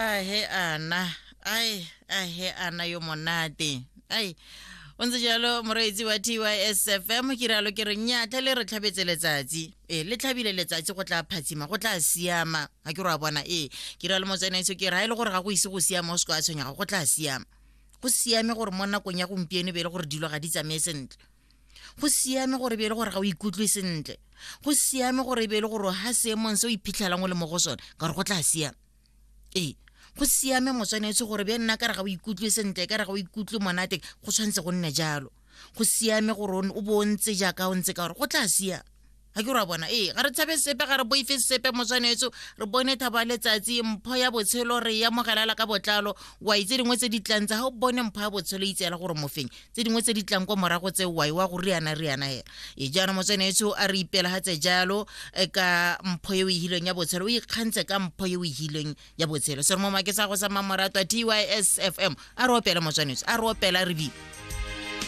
Ahe ana, ai, ahe ana yo monate. Ai, o ntse jalo moreetsi wa TYSFM, ke rialo ke re nnyatla le re tlhabetse letsatsi. Ee, le tlhabile letsatsi, go tla phatsima, go tla siama. Ga ke re wa bona, ee, ke rialo motsanaiso ke re ga e le gore ga go ise go siama, o se ka wa tshwenyega, go tla siama. Go siame gore mo nakong ya gompieno e be e le gore dilo ga di tsamaye sentle. Go siame gore e be e le gore ga o ikutlwe sentle. Go siame gore e be e le gore ga seemong se o iphitlhelang o le mo go sone, ka gore go tla siama. Ee, go siame motswanetse gore be nna ka re ga o ikutlwe sentle, ka re ga o ikutlwe monate, go tshwanetse go nne jalo. Go siame gore o bo o ntse jaaka o ntse, ka gore go tla siama. Ga ke re wa bona, ee, ga re tshabe sepe, ga re boife sepe motswanetso, re bone thabo ya letsatsi, mpho ya botshelo re e amogelela ka botlalo. Wa itse dingwe tse di tlang tsa ga o bone mpho ya botshelo, itseela gore mofeng tse dingwe tse di tlang kwa morago tse wai wa go riana riana hela. E jaanong motswanetso a re ipelagatse jalo ka mpho e o e hilweng ya botshelo, o ikgantse ka mpho e o e hilweng ya botshelo. Se re mo make sa go sa mamoratwa TYSFM, a re opele motswanetso, a re opela re bile.